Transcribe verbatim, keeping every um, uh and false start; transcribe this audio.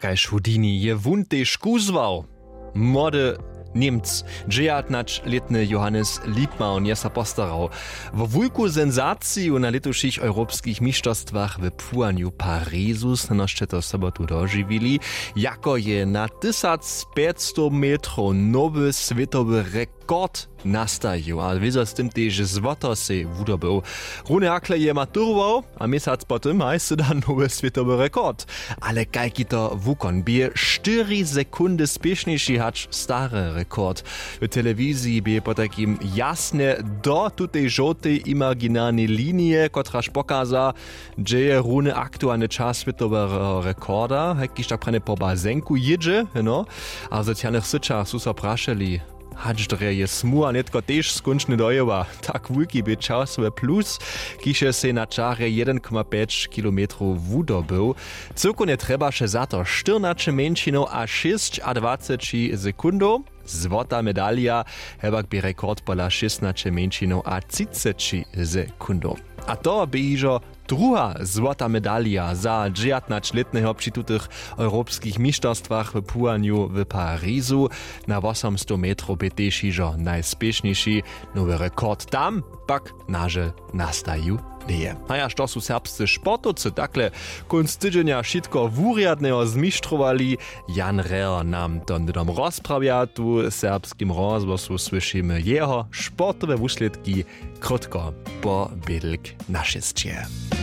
Kaž Houdini je wón tež kuzłał. Młody Němc, dźejatnaćlětny Johannes Liebmann je so postarał wo wulku senzaciju na lětušich europskich mišterstwach w płuwanju Parizu. Snano sće to sobotu dožiwili, jako je na tysacpjećstow metrow nowy swětowy rekord nastajił a wězo z tym tež złoto sej wudobył. Rune hakle je maturował a měsac po tym haj sy da nowy swětowy rekord. Ale kajki to wukon bě štyri sekundy spěšnjejši hač stary rekord. W telewiziji bě potajkim jasnje do tutej žołtej imaginarnej linije, kotraž pokaza, hdźe je runy aktualny čas swětoweho rekorda, hajkiž tak pranje po bazenku jědźe, no. A w socialnych syćach su so prašeli, hač drje je smuha nětko tež skónčnje dojěła. Tak wulki bě časowy plus, kiž je sej na čarje jedyn koma pjeć kilometrow wudobył. Cyłkownje trjebaše za to štyrnaće mjeńšinow a šěsćadwaceći sekundow. Złota medalija, hewak bě rekord pola šěstnaće mjeńšinow a třiceći sekundow. A to bě hižo druha złota medalija za dźejatnaćlětneho při tutych europskich mišterstwach w płuwanju w Parizu. Na wosomstow metrow bě tež hižo najspěšnjejši. Nowy rekord tam pak nažel nastajił njeje. A ja što su serbscy sportowcy takle kónc tydźenja wšitko wurjadneho zmištrowali. Jan Reher nam to hnydom rozprawja tu w serbskim rozhłosu, słyšimy jeho sportowe wuslědki krótko po bědlk na šěsće.